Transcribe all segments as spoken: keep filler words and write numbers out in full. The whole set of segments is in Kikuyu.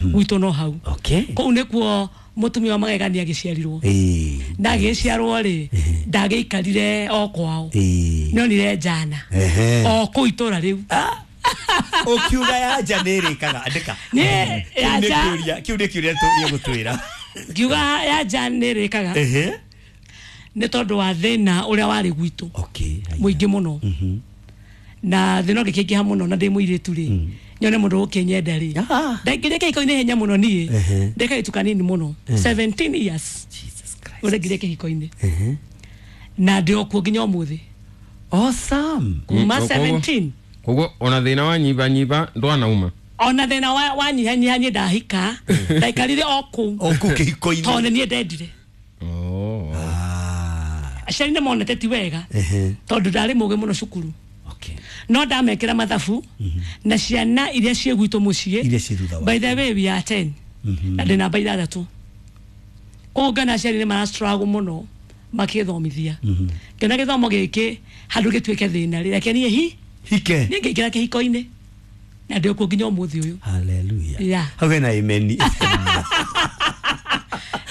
Gwitũ no hau. Okay. Kũu nĩkuo mũtumia wa magegania agĩciarirwo. Ĩĩ. Ndagĩciarwo rĩ, ndagĩikarire o kwao. Ĩĩ. Nĩonire njana. Ehe. O kũu itũra rĩu. Ũkiuga ya nja nĩ ĩrĩkaga andĩka. Niĩ, ya Kĩu nĩ nja- kĩũria- kĩu nĩ kĩũria tũgũtwĩra. Ngiuga ya nja nĩ ĩrĩkaga Ehe. nĩ tondũ wa thĩna ũrĩa warĩ gwitũ. Okay. Haya. Mũingĩ mũno. Na thĩna ũngĩkĩingĩha mũno na ndĩ mũirĩtu rĩ, nyone mũndũ ũkĩnyenda rĩ. Ah. Ndaingĩrire kĩhiko-inĩ ihenya mũno niĩ. Ehe. Ndĩ kairĩtu kanini mũno. seventeen years. Jesus Christ. Ũrĩa kĩhiko-inĩ. Ehe. Na ndĩ o kuo nginya ũmũthĩ. Awesome. Kuma Mm, koguo- seventeen. Koguo ona thĩna wa nyibanyiba ndwanauma. Ona thĩna wa wa nyihanyiha niĩ ndahika, ndaikarire o kũu. O kũu kĩhiko-inĩ. Tondũ nĩ niĩ ndendire. Oh. Ah. Aciari nĩ monete ti wega. Ehe. Tondũ ndarĩ mũgĩ mũno cukuru. Okay. No ndamekĩra mathabu na ciana iria ciĩ gwitũ mũciĩ. Iria ciĩ thutha By the way, we are ten. Na ndĩ namba ithathatũ. Koguo ngona aciari nĩ mara struggle mũno makĩthomithia. Ngĩona gĩthomo gĩkĩ handũ gĩtuĩke thĩna rĩ, reke niĩ hi Hike. niĩ ngĩingĩra kĩhiko-inĩ. Na ndĩ kuo nginya ũmũthĩ ũyũ. Hallelujah. Yeah. Hau hena amen.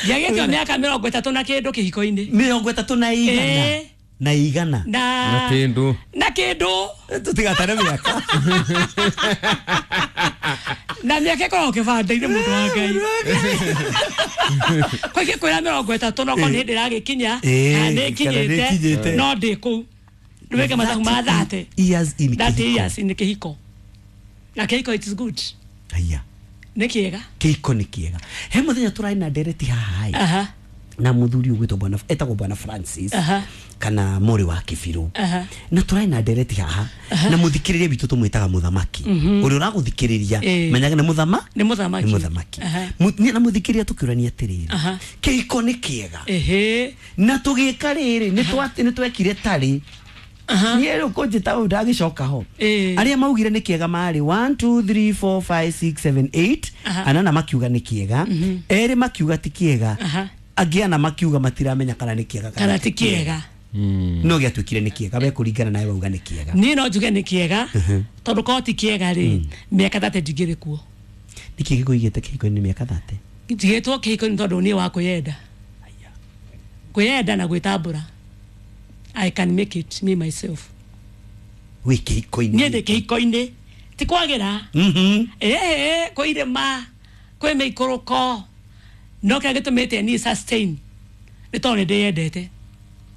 Ndiagĩtio mĩaka mĩrongo ĩtatũ na kĩndũ kĩhiko-inĩ. Mĩrongo ĩtatũ na igana. Ĩĩ. Na igana. Na Na kĩndũ. Na kĩndũ. Tũtigatare mĩaka. Na mĩaka ĩkoragwo kĩbanda-inĩ mũndũ wa Ngai. Kwa ingĩkwĩra mĩrongo ĩtatũ no korwo nĩ hĩndĩ ĩragĩkinya, Ĩĩ, kana nĩ kana nĩ ĩkinyĩte, ĩkinyĩte. no ndĩ kũu. Ndwĩke mathabu ma thirty. Years in Thirty kĩhiko. years in kĩhiko. Na kĩhiko it is good. Haya. Nĩ kĩega. Kĩhiko nĩ kĩega. He mũthenya tũrarĩ na ndereti haha ĩ. Aha. Na mũthuri ũgwĩtwo bwana etagwo bwana Francis. Aha. Kana mũrĩ wa Kĩbirũ. Aha. Na tũrarĩ na ndereti haha. Na mũthikĩrĩria witũ tũmwĩtaga mũthamaki. Ũrĩa ũragũthikĩrĩria Ĩĩ. menyaga nĩ mũthama? Nĩ mũthamaki. Nĩ mũthamaki. Aha. Mu- niĩ na mũthikĩrĩria tũkĩũrania atĩrĩrĩ. Aha. Kĩhiko nĩ kĩega. Ĩhĩ. Na tũgĩka rĩrĩ nĩ twa- nĩ twekire tarĩ. Niĩ rĩu kũnjĩta ũũ ndagĩcoka ho. Ĩĩ. Arĩa maugire nĩ kĩega marĩ one, two, three, four, five, six, seven, eight. Aha. Anana makiuga nĩ kĩega. Erĩ makiuga ti kĩega. Aha. Angĩ ana makiuga matiramenya kana nĩ kĩega Kana ti kĩega. No gĩatuĩkire nĩ kĩega we kũringana nawe wauga nĩ kĩega. Niĩ no njuge nĩ kĩega tondũ korwo ti kĩega rĩ, mĩaka thate ndingĩrĩ kuo. Nĩkĩ gĩkũigĩte kĩhiko-inĩ mĩaka thate? Njigĩtwo kĩhiko-inĩ tondũ niĩ wa kwĩyenda. Kwĩyenda na gwĩtambũra. I can make it me myself. Wĩ kĩhiko-inĩ. Niĩ ndĩ kĩhiko-inĩ. Ti kwagĩra. Mhm. Ĩĩ, kwĩ irĩma, kwĩ mĩikũrũko. No kĩrĩa gĩtũmĩte niĩ sustain nĩ tondũ nĩ ndĩyendete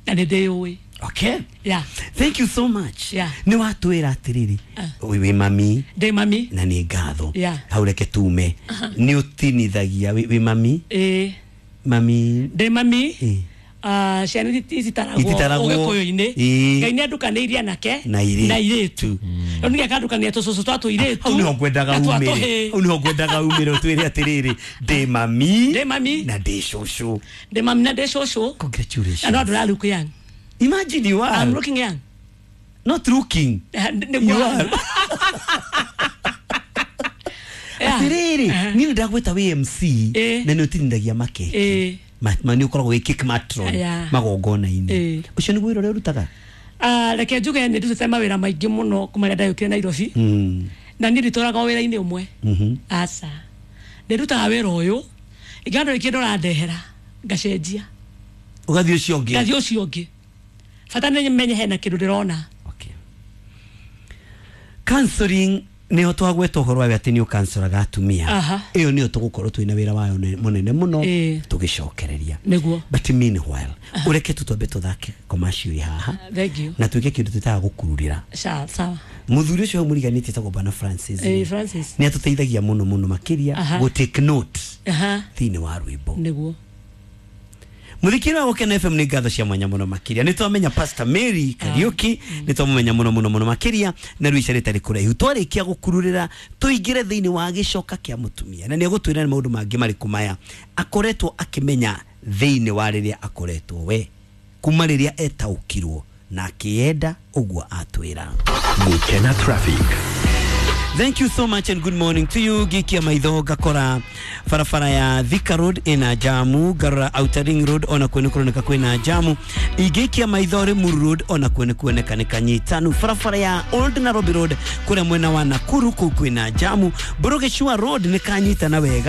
na nĩ ndĩyũĩ. Okay. Yeah. Thank you so much. Yeah. Nĩ watwĩra atĩrĩrĩ wĩ mami Ndĩ mami. na nĩ ngatho. Yeah. Hau reke tume. Nĩ ũtinithagia wĩ wĩ mami. Ĩĩ. Mami. Ndĩ mami. Ĩĩ. Ah, ciana iti- ititaragwo Ititaragwo. ũgĩkũyũ-inĩ. Ĩĩ. Ngai nĩ andukanĩirie anake Na airĩtu. na airĩtu. Rĩu ningĩ akandukania tũcũcũ twa tũirĩtu Hau nĩho ngwendaga na twa umĩre. tũhĩĩ. Hau nĩho ngwendaga umĩre ũtwĩre atĩrĩrĩ ndĩ mami Ndĩ mami. na ndĩ cũcũ. Ndĩ mami na ndĩ cũcũ. Congratulations. Na no andũ look young. Imagine you are. I'm looking young. Not looking. Nĩguo. You are. Yeah. Atĩrĩrĩ Aha. niĩ nĩ ndagwĩta wĩ M C Ĩĩ. na nĩ ũtinithagia makeki. Ĩĩ. Ma, ma nĩ ũkoragwo wĩ cake matron Yeah. magongona-inĩ. Ĩĩ. Ũcio nĩguo wĩra ũrĩa ũrutaga? Ah, reke njuge nĩ ndutĩte mawĩra maingĩ mũno kuma rĩrĩa ndayũkire Nairobi. Mm. Na niĩ nditũraga o wĩra-inĩ ũmwe. Mhm. Aca. Ndĩrutaga wĩra ũyũ, ingĩona ndũrĩ kĩndũ ũrandehera, ngacenjia. Ũgathiĩ ũcio ũngĩ. Ngathiĩ ũcio ũngĩ. Bata nĩ menye hena kĩndũ ndĩrona. Okay. Counseling nĩho twagweta ũhoro wayo atĩ nĩ ũkancoraga atumia. Aha. Ĩyo nĩyo tũgũkorwo twĩna wĩra wayo ne- mũnene mũno Ĩĩ. tũgĩcokereria. Nĩguo. But meanwhile, ũreke tu twambe tũthake commercial haha. Thank you. Na twĩke kĩndũ twĩtaga gũkururĩra. Sawa, sawa. Mũthuri ũcio hau mũriganĩtie etagwo Bwana Francis. Ĩĩ, Francis. Nĩ atũteithagia mũno mũno makĩria Aha. gũ take note Aha. thĩinĩ wa rwĩmbo. Nĩguo. Mũthikĩri wa Gũkena F M nĩ ngatho cia mwanya mũno makĩria. Nĩ twamenya Pastor Mary Kariuki, nĩ twamũmenya mũno mũno mũno makĩria na rĩu ica rĩtarĩ kũraihu. Twarĩkia gũkururĩra tũingĩre thĩinĩ wa gĩcoka kĩa mũtumia na nĩ egũtwĩra nĩ maũndũ mangĩ marĩkũ maya akoretwo akĩmenya thĩinĩ wa rĩrĩa akoretwo we kuma rĩrĩa etaũkirwo na akĩenda ũguo atwĩra. Gũkena Traffic. Thank you so much and good morning to you. Gikia maitho ngakora barabara ya Thika Road ina jamu, ngarora Outer Ring Road ona kuo nĩ kũroneka kwĩna jamu. Ingĩikia maitho Limuru Road ona kuo nĩ kuoneka nĩ kanyitanu. Barabara ya Old Nairobi Road kũrĩa mwena wa Nakuru kũu kwĩna jamu. Burugicua Road nĩ kanyitana wega.